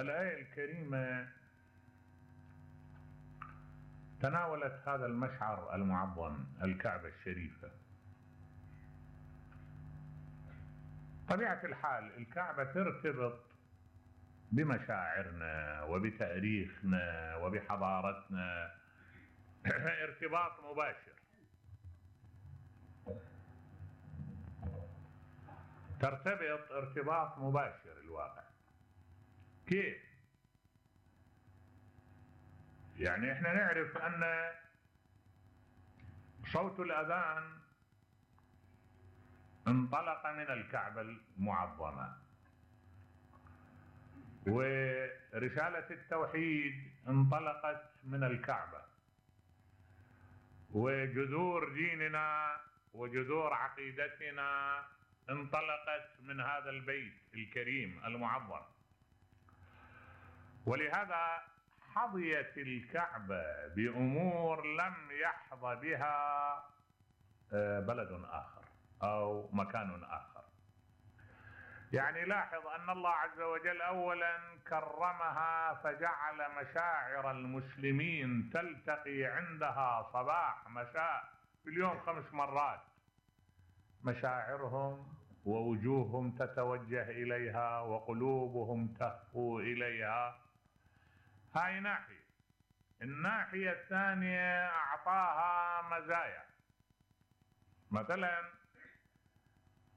الآية الكريمة تناولت هذا المشعر المعظم، الكعبة الشريفة. طبيعة الحال الكعبة ترتبط بمشاعرنا وبتاريخنا وبحضارتنا ارتباط مباشر. ترتبط ارتباط مباشر الواقع. كيف؟ يعني احنا نعرف ان صوت الاذان انطلق من الكعبة المعظمة، ورسالة التوحيد انطلقت من الكعبة، وجذور ديننا وجذور عقيدتنا انطلقت من هذا البيت الكريم المعظم. ولهذا حظيت الكعبة بأمور لم يحظى بها بلد آخر أو مكان آخر. يعني لاحظ أن الله عز وجل أولا كرمها فجعل مشاعر المسلمين تلتقي عندها صباح مساء في اليوم 5 مرات. مشاعرهم ووجوههم تتوجه إليها وقلوبهم تهفو إليها. هاي ناحية. الناحية الثانية أعطاها مزايا. مثلا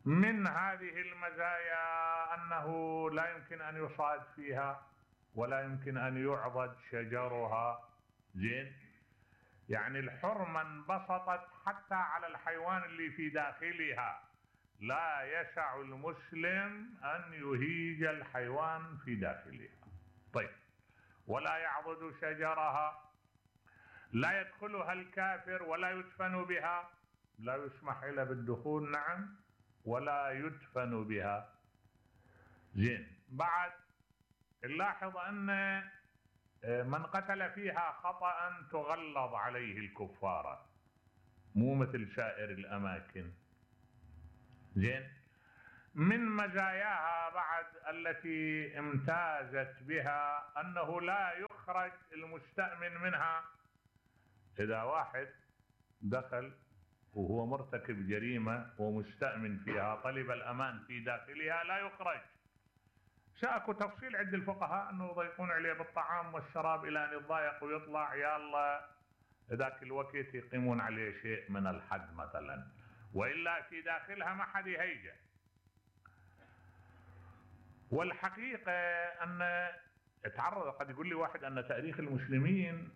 من هذه المزايا أنه لا يمكن أن يصاد فيها ولا يمكن أن يعضد شجرها. زين؟ يعني الحرمة انبسطت حتى على الحيوان اللي في داخلها. لا يسع المسلم أن يهيج الحيوان في داخلها. طيب، ولا يعضد شجرها، لا يدخلها الكافر ولا يدفن بها، لا يسمح إلا بالدخول، نعم، ولا يدفن بها. زين. بعد نلاحظ أن من قتل فيها خطأ تغلظ عليه الكفارة، مو مثل سائر الأماكن. زين. من مزاياها بعد التي امتازت بها أنه لا يخرج المستأمن منها. إذا واحد دخل وهو مرتكب جريمة ومستأمن فيها طلب الأمان في داخلها لا يخرج. شاكو تفصيل عند الفقهاء أنه يضيقون عليه بالطعام والشراب إلى أن يتضايق ويطلع، يا الله ذاك الوقت يقيمون عليه شيء من الحد مثلا، وإلا في داخلها ما حد يهيجه. والحقيقة أن تعرض، قد يقول لي واحد أن تاريخ المسلمين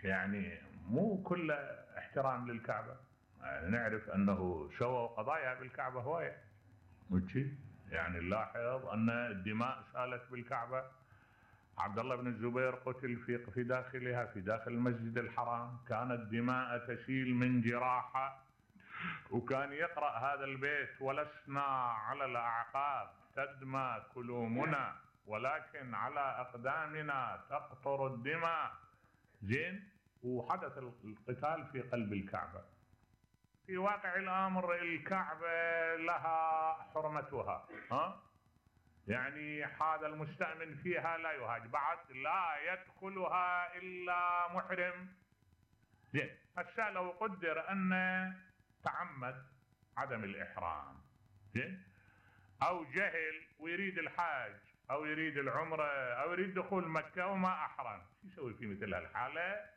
يعني مو كله احترام للكعبة. يعني نعرف أنه سووا قضايا بالكعبة هواية. يعني نلاحظ أن الدماء سالت بالكعبة. عبد الله بن الزبير قتل في داخلها، في داخل المسجد الحرام. كانت دماء تسيل من جراحة، وكان يقرأ هذا البيت: ولسنا على الأعقاب تدمى كلومنا ولكن على أقدامنا تقطر الدماء. زين. وحدث القتال في قلب الكعبة. في واقع الأمر الكعبة لها حرمتها، يعني هذا المستأمن فيها لا يهاج. بعد لا يدخلها إلا محرم. زين. هسه لو قدر أن تعمد عدم الإحرام، زين، أو جهل ويريد الحاج أو يريد العمرة أو يريد دخول مكة وما أحرم، شو يسوي في مثل هالحالة؟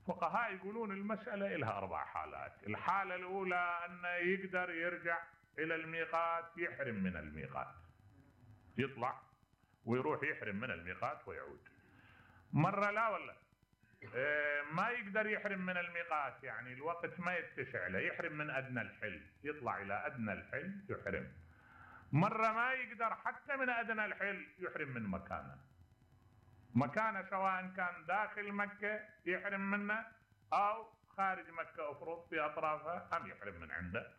فقهاء يقولون المسألة لها 4 حالات. الحالة الأولى أن يقدر يرجع إلى الميقات، يحرم من الميقات، يطلع ويروح يحرم من الميقات ويعود. مرة لا ولا ما يقدر يحرم من الميقات، يعني الوقت ما يتسع له، يحرم من أدنى الحل، يطلع إلى أدنى الحل يحرم. مرة ما يقدر حتى من أدنى الحل، يحرم من مكانه سواء كان داخل مكة يحرم منه أو خارج مكة أفرض في أطرافها، أم يحرم من عنده.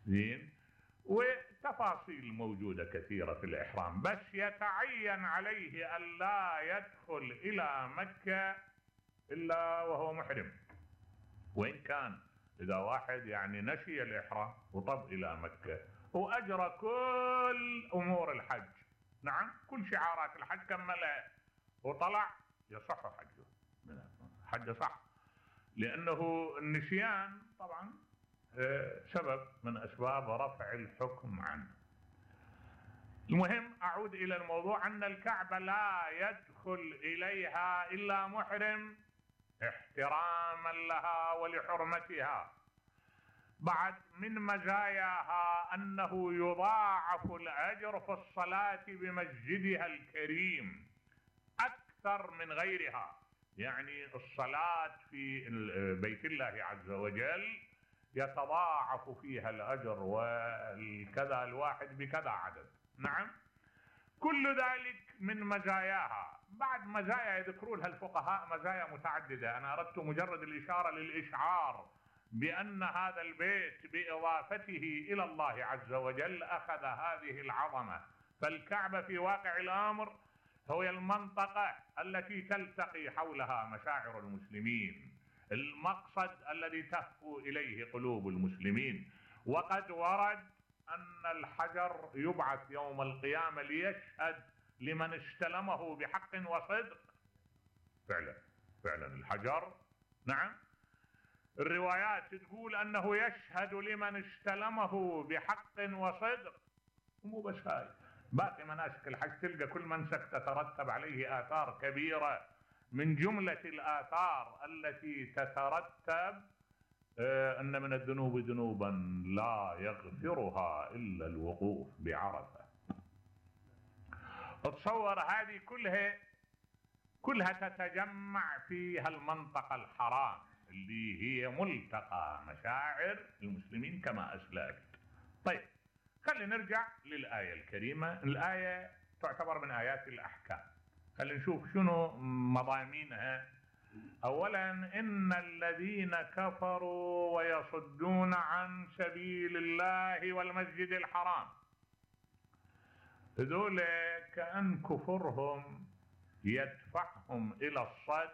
زين. وتفاصيل موجودة كثيرة في الإحرام، بس يتعين عليه أن لا يدخل إلى مكة إلا وهو محرم. وإن كان إذا واحد يعني نسي الإحرام وطب إلى مكة وأجرى كل أمور الحج، نعم، كل شعارات الحج كملها وطلع يصح حجه، حجه صح، لأنه النسيان طبعا سبب من أسباب رفع الحكم عنه. المهم أعود إلى الموضوع، أن الكعبة لا يدخل إليها إلا محرم احتراما لها ولحرمتها. بعد من مزاياها أنه يضاعف الأجر في الصلاة بمسجدها الكريم أكثر من غيرها. يعني الصلاة في بيت الله عز وجل يتضاعف فيها الأجر، والكذا الواحد بكذا عدد. نعم، كل ذلك من مزاياها. بعد مزايا يذكرونها الفقهاء مزايا متعددة، أنا أردت مجرد الإشارة للإشعار بأن هذا البيت بإضافته إلى الله عز وجل أخذ هذه العظمة. فالكعبة في واقع الأمر هي المنطقة التي تلتقي حولها مشاعر المسلمين، المقصد الذي تهفو إليه قلوب المسلمين. وقد ورد أن الحجر يبعث يوم القيامة ليشهد لمن استلمه بحق وصدق. فعلا الحجر، نعم، الروايات تقول أنه يشهد لمن استلمه بحق وصدق. ومو بس هاي، باقي مناسك الحج تلقى كل منسك تترتب عليه آثار كبيرة. من جملة الآثار التي تترتب أن من الذنوب ذنوبا لا يغفرها إلا الوقوف بعرفة. اتصور هذه كلها تتجمع في هالمنطقة الحرام اللي هي ملتقى مشاعر المسلمين كما أسلفت. طيب، خلينا نرجع للآية الكريمة. الآية تعتبر من آيات الأحكام. خلينا نشوف شنو مضامينها. أولا، إن الذين كفروا ويصدون عن سبيل الله والمسجد الحرام، هذول كأن كفرهم يدفعهم إلى الصد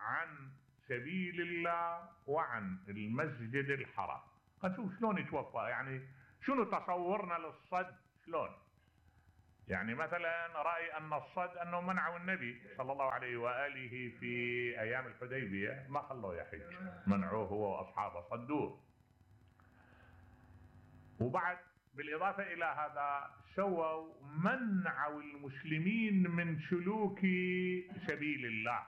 عن سبيل الله وعن المسجد الحرام. نشوف شلون يتوفى، يعني شنو تصورنا للصد شلون. يعني مثلا رأي أن الصد أنه منعوا النبي صلى الله عليه وآله في أيام الحديبية، ما خلوه يحج، منعوه هو وأصحابه، صدوه. وبعد بالإضافة إلى هذا سووا منعوا المسلمين من سلوك سبيل الله.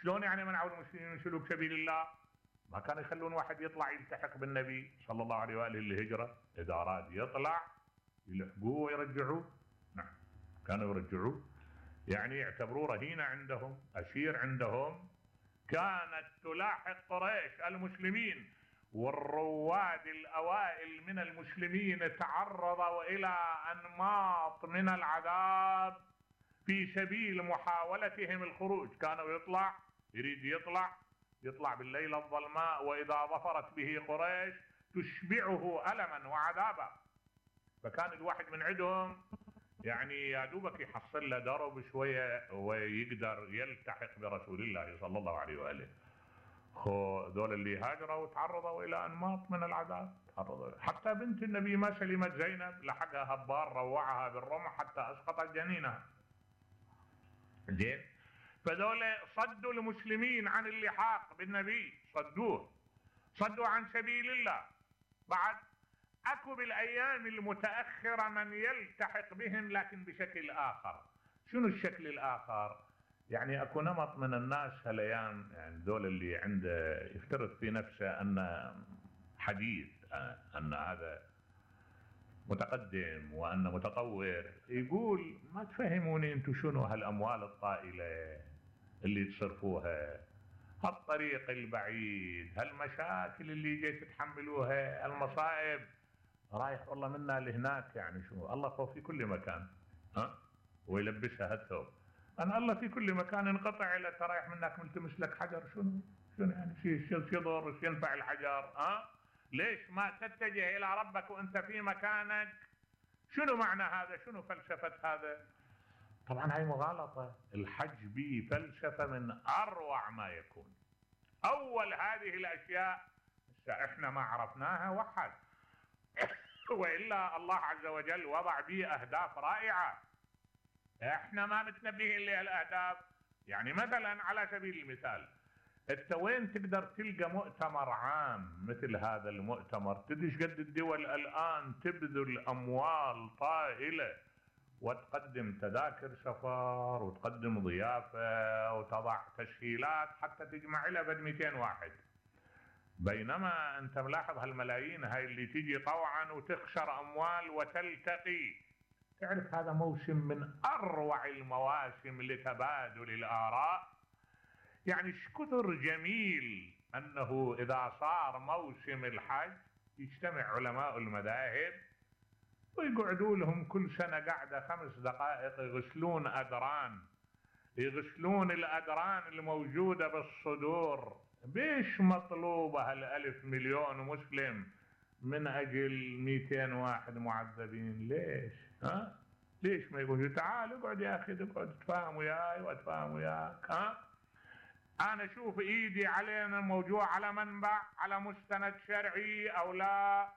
شلون يعني منعوا المسلمين من سلوك سبيل الله؟ ما كانوا يخلون واحد يطلع يلتحق بالنبي صلى الله عليه وآله الهجرة، إذا أراد يطلع يلحقوه ويرجعوه. نعم، كانوا يرجعوه، يعني يعتبروه رهينة عندهم، أسير عندهم. كانت تلاحق قريش المسلمين، والرواد الأوائل من المسلمين تعرضوا إلى أنماط من العذاب في سبيل محاولتهم الخروج. كانوا يريد يطلع بالليلة الظلماء، وإذا ظفرت به قريش تشبعه ألما وعذابا. فكان الواحد من عندهم يعني يا دوبك يحصل له درب شوية ويقدر يلتحق برسول الله صلى الله عليه وآله. ذول اللي هاجروا وتعرضوا إلى أنماط من العذاب، حتى بنت النبي ما سلمت زينب، لحقها هبار روعها بالرمح حتى أسقطت جنينها. زين، فذول صدوا المسلمين عن اللحاق بالنبي، صدوا عن سبيل الله. بعد اكو بالايام المتاخره من يلتحق بهم لكن بشكل اخر. شنو الشكل الاخر؟ يعني اكو نمط من الناس هالايام، يعني ذول اللي عنده يفترض في نفسه ان حديث، ان هذا متقدم وأنه متطور، يقول ما تفهموني انتم شنو هالأموال الطائلة اللي تصرفوها، هالطريق البعيد، هالمشاكل اللي جاي تتحملوها، المصائب، رايح والله منا لهناك. يعني شنو الله هو في كل مكان، ويلبسها هالثوب. أنا الله في كل مكان، انقطع إلى رايح منك ملتمس لك حجر، شنو يعني شو يضر، شو ينفع الحجر؟ ليش ما تتجه إلى ربك وأنت في مكانك؟ شنو معنى هذا؟ شنو فلسفة هذا؟ طبعا هاي مغالطة. الحج به فلسفة من أروع ما يكون. أول هذه الأشياء احنا ما عرفناها وحد وإلا الله عز وجل وضع به أهداف رائعة. احنا ما متنبهين لهالاهداف. يعني مثلا على سبيل المثال، انت وين تقدر تلقى مؤتمر عام مثل هذا المؤتمر؟ تدري ايش قد الدول الان تبذل اموال طائله وتقدم تذاكر سفر وتقدم ضيافه وتضع تسهيلات حتى تجمع لها بد 200 واحد، بينما انت ملاحظ هالملايين هاي اللي تيجي طوعا وتخسر اموال وتلتقي. تعرف هذا موسم من اروع المواسم لتبادل الاراء. يعني ايش كثر جميل انه اذا صار موسم الحج يجتمع علماء المذاهب ويقعدوا لهم كل سنه قعده 5 دقائق يغسلون ادران، يغسلون الادران الموجوده بالصدور. بيش مطلوبه هالالف مليون مسلم من اجل 200 واحد معذبين؟ ليش؟ ها؟ ليش ما يقولوا تعال اقعد يا اخي، اقعد تفاهم وياي واتفاهم وياك؟ ها؟ انا اشوف ايدي علينا موجوع على منبع، على مستند شرعي او لا.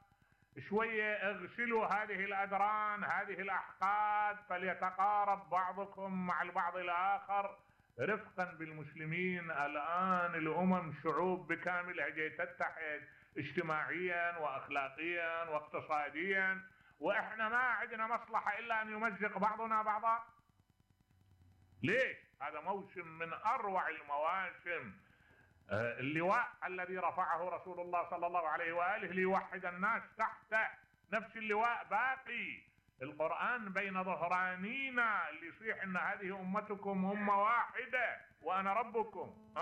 شويه اغسلوا هذه الادران، هذه الاحقاد، فليتقارب بعضكم مع البعض الاخر رفقا بالمسلمين. الان الامم شعوب بكاملها جاي تتحد اجتماعيا واخلاقيا واقتصاديا، واحنا ما عندنا مصلحه الا ان يمزق بعضنا بعضا. ليش؟ هذا موسم من اروع المواسم. اللواء الذي رفعه رسول الله صلى الله عليه واله ليوحد الناس تحته، نفس اللواء باقي. القرآن بين ظهرانينا اللي يصيح ان هذه امتكم امه واحده وانا ربكم.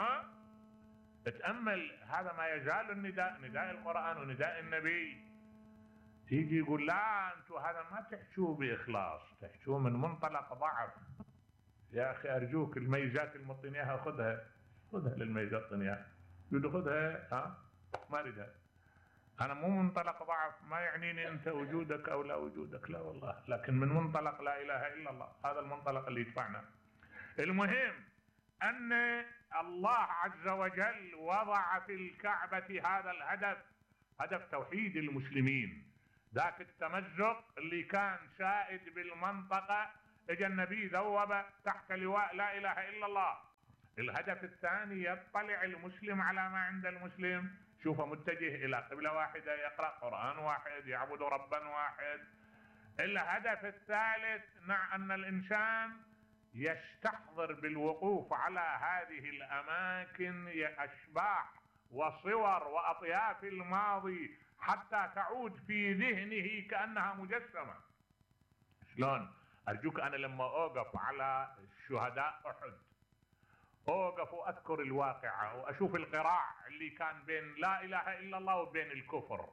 اتامل، هذا ما يزال النداء، نداء القرآن ونداء النبي. يجي يقول لا انتم هذا ما تحشوه باخلاص، تحشوه من منطلق ضعف. يا اخي ارجوك الميزات المعطيني اياها خذها، خذها للميزات اعطيني اياها، يقول خذها ما اريدها. انا مو منطلق ضعف، ما يعنيني انت وجودك او لا وجودك، لا والله، لكن من منطلق لا اله الا الله، هذا المنطلق اللي يدفعنا. المهم ان الله عز وجل وضع في الكعبة هذا الهدف، هدف توحيد المسلمين. ذاك التمزق اللي كان سائد بالمنطقة اجى النبي ذوب تحت لواء لا اله الا الله. الهدف الثاني يطلع المسلم على ما عند المسلم، شوفه متجه الى قبلة واحدة، يقرأ قرآن واحد، يعبد ربا واحد. الهدف الثالث ان الانسان يستحضر بالوقوف على هذه الاماكن اشباح وصور واطياف الماضي حتى تعود في ذهنه كأنها مجسمة. شلون؟ ارجوك انا لما اوقف على شهداء احد اوقف واذكر الواقعة واشوف القراع اللي كان بين لا اله الا الله وبين الكفر،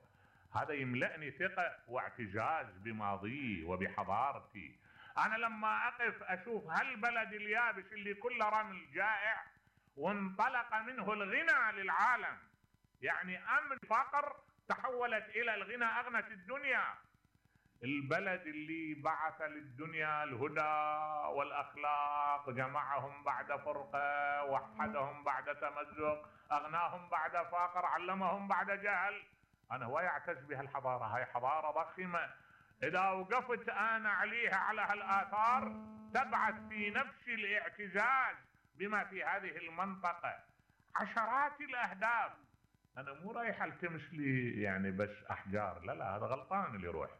هذا يملأني ثقة واعتزاز بماضي وبحضارتي. انا لما اقف اشوف هالبلد اليابس اللي كله رمل جائع وانطلق منه الغنى للعالم، يعني امن فقر تحولت الى الغنى اغنت الدنيا. البلد اللي بعث للدنيا الهدى والاخلاق، جمعهم بعد فرقة، وحدهم بعد تمزق، اغناهم بعد فقر، علمهم بعد جهل. انا هو يعتز بهالحضارة، هاي حضارة ضخمة. اذا وقفت انا عليها على هالاثار تبعث في نفس الاعتزاز بما في هذه المنطقة. عشرات الاهداف. انا مو رايح التمس لي يعني بس احجار، لا هذا غلطان اللي يروح.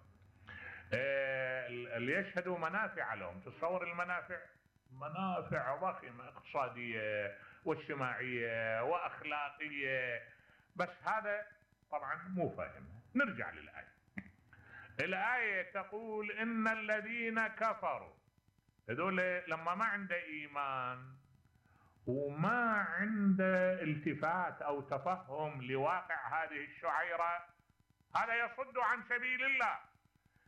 اللي يشهدوا منافع لهم، تصور المنافع، منافع ضخمة اقتصادية واجتماعية واخلاقية، بس هذا طبعا مو فاهم. نرجع للآية. الآية تقول ان الذين كفروا، هذول لما ما عنده ايمان وما عنده التفات او تفهم لواقع هذه الشعيرة، هذا يصد عن سبيل الله،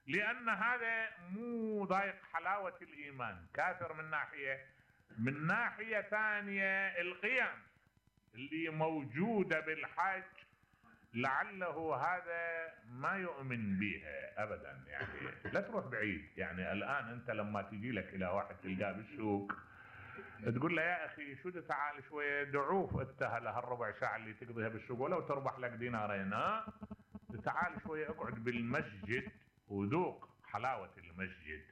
لان هذا مو ضايق حلاوة الايمان، كافر من ناحية. من ناحية ثانية القيم اللي موجودة بالحج لعله هذا ما يؤمن بها ابدا. يعني لا تروح بعيد، يعني الان انت لما تجي لك الى واحد تلقاه بالسوق تقول له يا اخي شو تعال شويه دعوف انت هالربع ساعه اللي تقضيها بالسوق ولو تربح لك دينارين، تعال شويه اقعد بالمسجد وذوق حلاوه المسجد.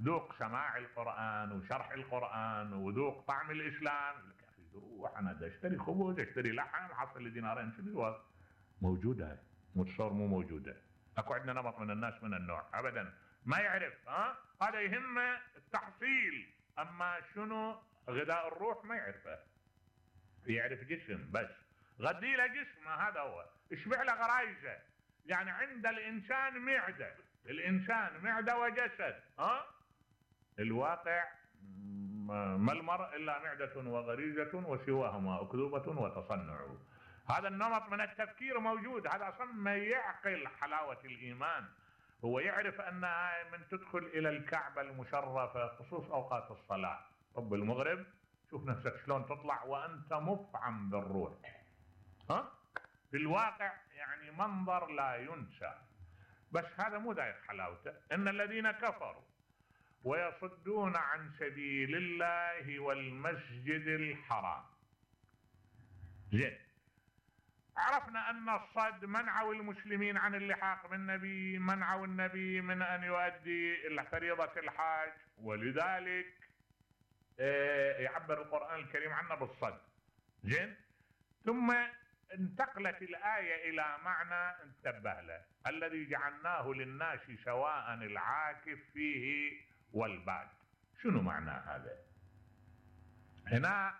ذوق سماع القرآن وشرح القرآن وذوق طعم الإسلام. يقول لك يا أخي روح أنا بدي أشتري خبز أشتري لحم حصل لي دينارين شنو موجودة هاي متصور مو موجودة. أكو عندنا نمط من الناس من النوع أبدا ما يعرف هذا يهمه التحصيل، أما شنو غذاء الروح ما يعرفه، يعرف جسم بس غذي له جسمه هذا هو اشبع له غرايزه. يعني عند الإنسان معدة، الإنسان معدة وجسد الواقع ما المرء إلا معدة وغريزة وسواهما أكذوبة وتصنع. هذا النمط من التفكير موجود، هذا أصلا ما يعقل حلاوة الإيمان. هو يعرف أنها من تدخل إلى الكعبة المشرفة خصوص أوقات الصلاة طب المغرب شوف نفسك شلون تطلع وأنت مفعم بالروح. في الواقع يعني منظر لا ينسى. بس هذا مو ذايق حلاوته. إن الذين كفروا ويصدون عن سبيل الله والمسجد الحرام. زين، عرفنا أن الصد منعوا المسلمين عن اللحاق بالنبي، منعوا النبي من أن يؤدي فريضة الحاج، ولذلك يعبر القرآن الكريم عنه بالصد. زين، ثم انتقلت الآية إلى معنى انتبه له، الذي جعلناه للناس سواء العاكف فيه والباد. شنو معنى هذا؟ هنا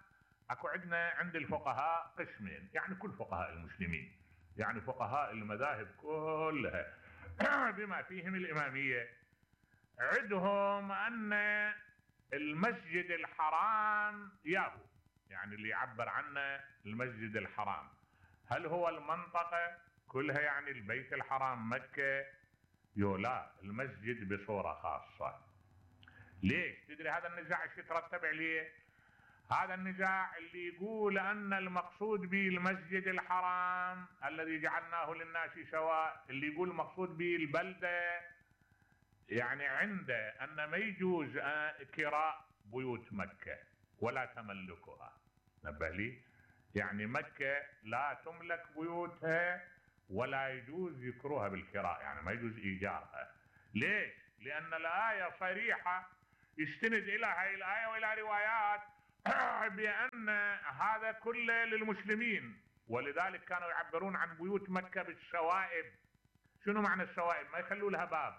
اكو عند الفقهاء قسمين، يعني كل فقهاء المسلمين، يعني فقهاء المذاهب كلها بما فيهم الإمامية، عندهم أن المسجد الحرام ياهو، يعني اللي يعبر عنه المسجد الحرام هل هو المنطقة كلها يعني البيت الحرام مكة؟ لا، المسجد بصورة خاصة. ليش؟ تدري هذا النزاع ايش يترتب عليه؟ هذا النزاع اللي يقول أن المقصود به المسجد الحرام الذي جعلناه للناس سواء، اللي يقول المقصود به البلدة، يعني عنده أن ما يجوز كراء بيوت مكة ولا تملكها. نبه لي، يعني مكة لا تملك بيوتها ولا يجوز ذكرها بالكراء، يعني ما يجوز إيجارها. ليش؟ لأن الآية صريحة يستند إلى هذه الآية وإلى روايات بأن هذا كله للمسلمين، ولذلك كانوا يعبرون عن بيوت مكة بالشوائب. شنو معنى الشوائب؟ ما يخلوا لها باب،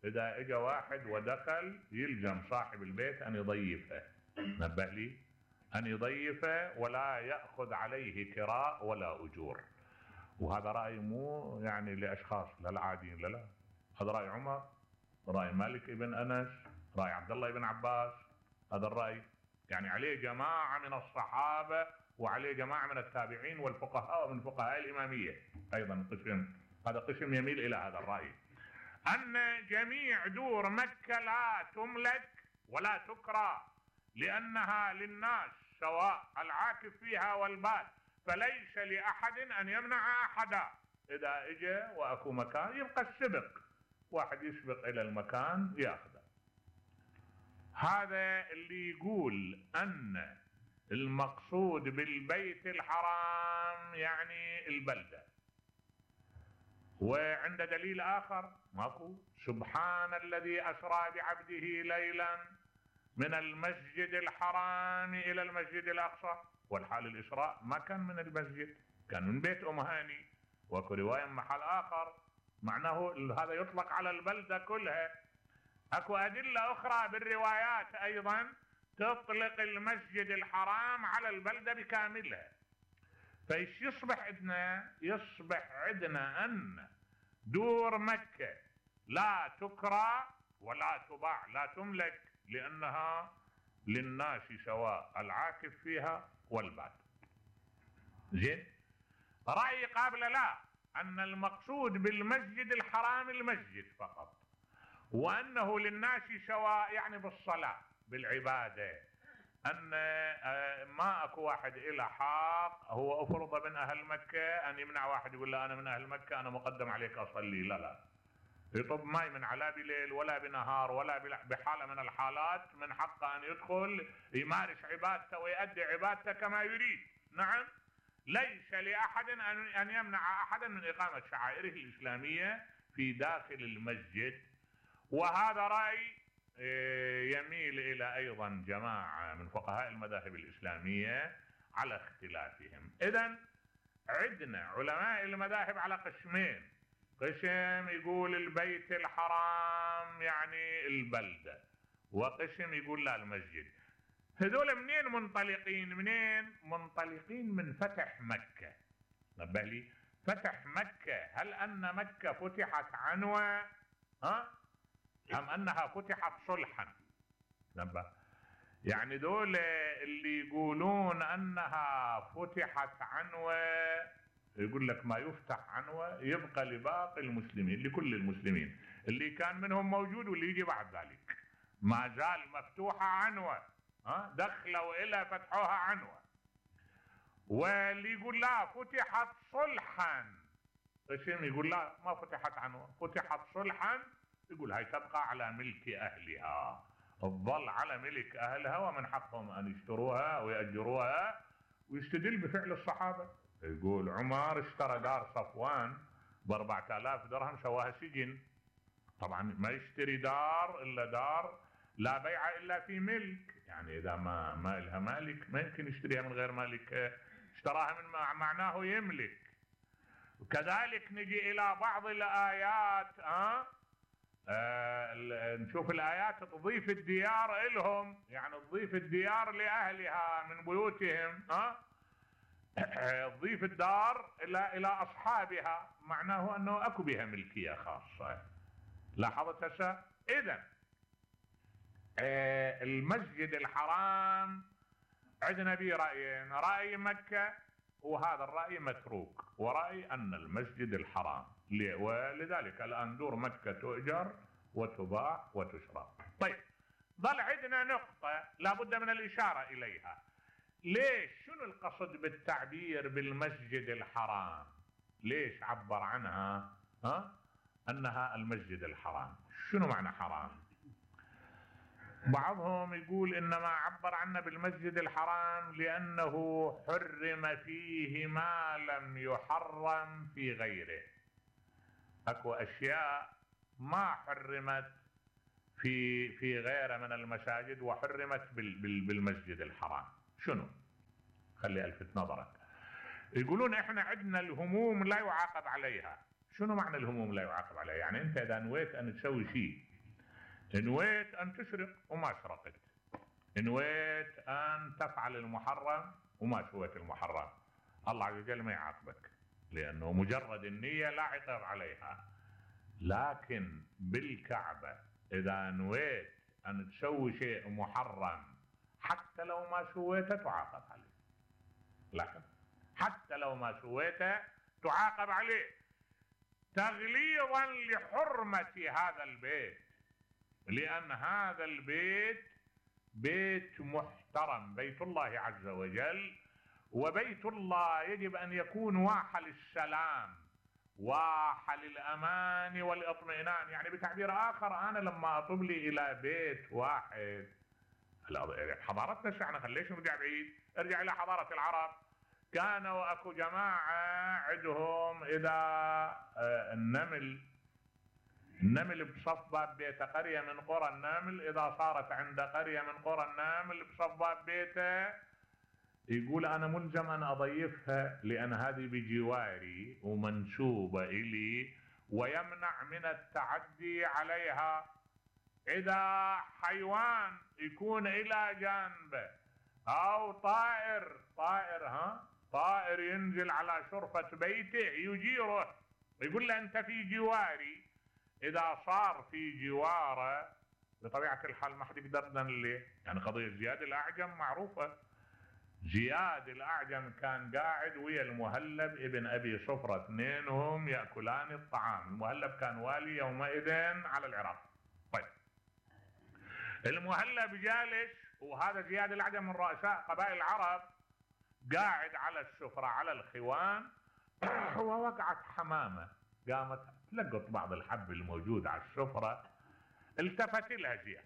إذا إجا واحد ودخل يلزم صاحب البيت أن يضيفه. نبه لي، أن يضيفه ولا يأخذ عليه كراء ولا أجور. وهذا رأي مو يعني لأشخاص للعاديين، لا، هذا رأي عمر، رأي مالك ابن أنس، رأي عبد الله بن عباس. هذا الرأي يعني عليه جماعة من الصحابة وعليه جماعة من التابعين والفقهاء ومن فقهاء الإمامية أيضا قسم، هذا قسم يميل إلى هذا الرأي، أن جميع دور مكة لا تملك ولا تكرى لأنها للناس سواء العاكف فيها والباد، فليس لأحد أن يمنع أحدا. إذا إجا وأكو مكان يبقى السبق، واحد يسبق إلى المكان يأخذه. هذا اللي يقول أن المقصود بالبيت الحرام يعني البلدة. وعند دليل آخر ماكو، سبحان الذي أسرى بعبده ليلا من المسجد الحرام إلى المسجد الأقصى، والحال الإسراء ما كان من المسجد، كان من بيت أم هاني. وكو رواية محل آخر معناه هذا يطلق على البلدة كلها. أكو أدلة أخرى بالروايات أيضا تطلق المسجد الحرام على البلدة بكاملها. فإيش يصبح عندنا؟ يصبح عندنا أن دور مكة لا تكرى ولا تباع، لا تملك، لأنها للناس سواء العاكف فيها والباد. زين، رأي قابل لا، أن المقصود بالمسجد الحرام المسجد فقط، وأنه للناس سواء يعني بالصلاة بالعبادة، أن ما أكو واحد إلى حق هو أفرض من أهل مكة أن يمنع واحد يقول له أنا من أهل مكة أنا مقدم عليك أصلي. لا، يطب ما من لا بليل ولا بنهار ولا بحالة من الحالات من حقه أن يدخل يمارس عبادته ويؤدي عبادته كما يريد. نعم، ليس لأحد أن يمنع أحدا من إقامة شعائره الإسلامية في داخل المسجد. وهذا رأي يميل إلى أيضا جماعة من فقهاء المذاهب الإسلامية على اختلافهم. إذن عندنا علماء المذاهب على قسمين، قسم يقول البيت الحرام يعني البلدة، وقسم يقول لا المسجد. هذول منين منطلقين؟ منطلقين من فتح مكة. نبه لي، فتح مكة، هل أن مكة فتحت عنوة أم أنها فتحت صلحا؟ نبه، يعني دول اللي يقولون أنها فتحت عنوة يقول لك ما يفتح عنوة يبقى لباقي المسلمين، لكل المسلمين اللي كان منهم موجود واللي يجي بعد ذلك، ما زال مفتوحة عنوة، دخلوا إلى فتحوها عنوة. واللي يقول لا فتحت صلحا، قسم يقول لا ما فتحت عنوة، فتحت صلحا، يقول هاي تبقى على ملك أهلها، تظل على ملك أهلها ومن حقهم أن يشتروها ويأجروها. ويستدل بفعل الصحابة، يقول عمر اشترى دار صفوان ب4000 درهم سواها سجن. طبعا ما يشتري دار إلا دار لا بيع إلا في ملك، يعني إذا ما لها مالك ما يمكن يشتريها من غير مالك، اشتراها من معناه يملك. وكذلك نجي إلى بعض الآيات، نشوف الآيات تضيف الديار إلهم، يعني تضيف الديار لأهلها من بيوتهم، تضيف الدار إلى أصحابها، معناه أنه أكو بها ملكية خاصة. لاحظت هسه؟ إذن المسجد الحرام عندنا به رأيين، رأي مكة وهذا الرأي متروك، ورأي أن المسجد الحرام، ولذلك الآن دور مكة تؤجر وتباع وتشرى. طيب، ظل عندنا نقطة لابد من الإشارة إليها. ليش؟ شنو القصد بالتعبير بالمسجد الحرام؟ ليش عبر عنها أنها المسجد الحرام؟ شنو معنى حرام؟ بعضهم يقول إنما عبر عنه بالمسجد الحرام لأنه حرم فيه ما لم يحرم في غيره. أكو أشياء ما حرمت في غيره من المساجد وحرمت بالمسجد الحرام. شنو؟ خلي ألفت نظرك. يقولون إحنا عندنا الهموم لا يعاقب عليها. شنو معنى الهموم لا يعاقب عليها؟ يعني أنت إذا نويت أن تسوي شيء، نويت أن تسرق وما سرقت، نويت أن تفعل المحرم وما سويت المحرم، الله عز وجل ما يعاقبك، لأنه مجرد النية لا عقاب عليها. لكن بالكعبة إذا نويت أن تسوي شيء محرم حتى لو ما سويته تعاقب عليه، لكن حتى لو ما سويته تعاقب عليه تغليظا لحرمة هذا البيت، لأن هذا البيت بيت محترم، بيت الله عز وجل، وبيت الله يجب أن يكون واحة للسلام، واحة للأمان والإطمئنان. يعني بتعبير آخر، أنا لما أطب لي إلى بيت واحد، حضارتنا احنا ليش نرجع بعيد؟ ارجع إلى حضارة العرب، كانوا أكو جماعة عندهم إذا النمل بصف باب بيته، قرية من قرى النمل إذا صارت عند قرية من قرى النمل بصف باب بيته، يقول أنا ملزم أن أضيفها لأن هذه بجواري ومنسوبة إلي ويمنع من التعدي عليها. إذا حيوان يكون إلى جانبه أو طائر ينزل على شرفة بيته يجيره، يقول له أنت في جواري. إذا صار في جواره بطبيعة الحال ما حد يقدر ليه، يعني قضية زياد الأعجم معروفة. زياد الأعجم كان قاعد ويا المهلب ابن أبي صفرة، اثنينهم يأكلان الطعام. المهلب كان والي يومئذ على العراق. طيب، المهلب جالس وهذا زياد الأعجم من رؤساء قبائل العرب قاعد على السفرة على الخوان ووقعت حمامة، قامت تلقط بعض الحب الموجود على السفرة، التفت لها زياد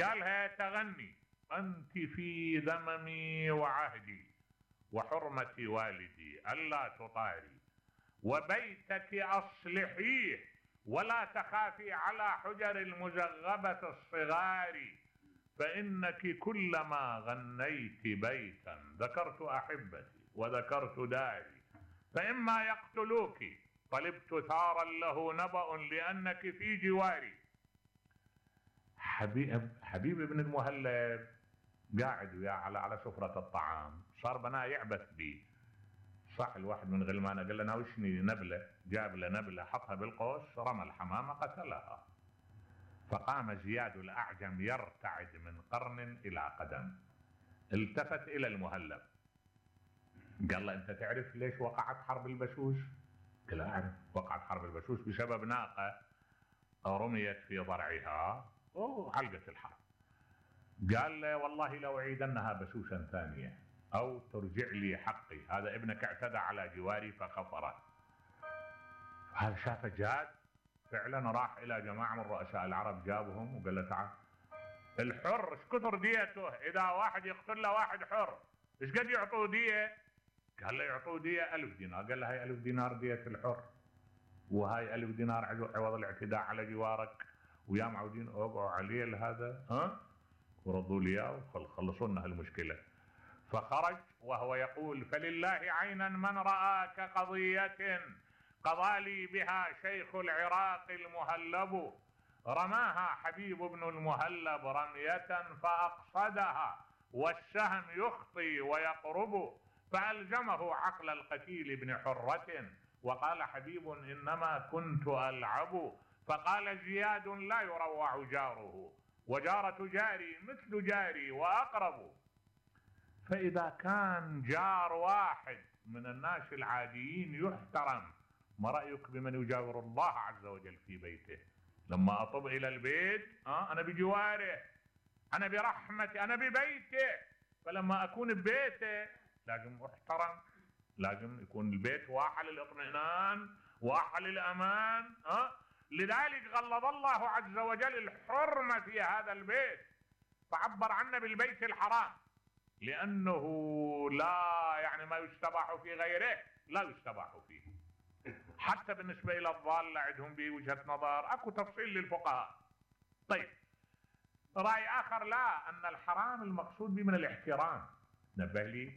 قالها تغني أنت في ذممي وعهدي وحرمة والدي ألا تطاري، وبيتك أصلحيه ولا تخافي على حجر المزغبة الصغار، فإنك كلما غنيت بيتا ذكرت أحبتي وذكرت داري، فإما يقتلوك طلبت ثارا له نبأ لأنك في جواري. حبيب ابن المهلب قاعد وياه على سفرة الطعام، صار بناه يعبث بيه. صح الواحد من غلمانه قال له ناوشني نبله، جاب له نبله حطها بالقوس، رمى الحمامه قتلها. فقام زياد الأعجم يرتعد من قرن إلى قدم، التفت إلى المهلب قال له أنت تعرف ليش وقعت حرب البشوش؟ قال أعرف، وقعت حرب البشوش بسبب ناقة رميت في ضرعها وعلقت الحرب. قال له والله لو أعيدنها بشوشا ثانية أو ترجع لي حقي، هذا ابنك اعتدى على جواري فخفره. هذا شافه جاد فعلا، راح إلى جماعة من رؤساء العرب جابهم وقال له تعال الحر ايش كثر ديته؟ إذا واحد يقتل له واحد حر ايش قد يعطوه دية؟ قال له يعطوه دية 1000 دينار. قال له هاي 1000 دينار دية الحر، وهاي 1000 دينار عوض الاعتداء على جوارك، ويا معودين اوقعوا عليه هذا وردوا لي اياه وخلصوا لنا هالمشكله. فخرج وهو يقول فلله عينا من رأى كقضية قضى لي بها شيخ العراق المهلب، رماها حبيب بن المهلب رمية فأقصدها والسهم يخطي ويقرب، فألزمه عقل القتيل بن حرة وقال حبيب إنما كنت ألعب، فقال زياد لا يروع جاره وجارة جاري مثل جاري وأقرب. فإذا كان جار واحد من الناس العاديين يحترم، ما رأيك بمن يجاور الله عز وجل في بيته؟ لما أطب إلى البيت أنا بجواره، أنا برحمتي، أنا ببيته، فلما أكون ببيته لازم أحترم، لازم يكون البيت واحة للإطمئنان واحة للأمان. لذلك غلظ الله عز وجل الحرمة في هذا البيت، فعبر عنه بالبيت الحرام، لأنه لا يعني ما يستباح في غيره لا يستباح فيه. حتى بالنسبة إلى الضال عندهم بوجهة نظر، أكو تفصيل للفقهاء. طيب رأي آخر لا، أن الحرام المقصود به من الاحترام. نبه لي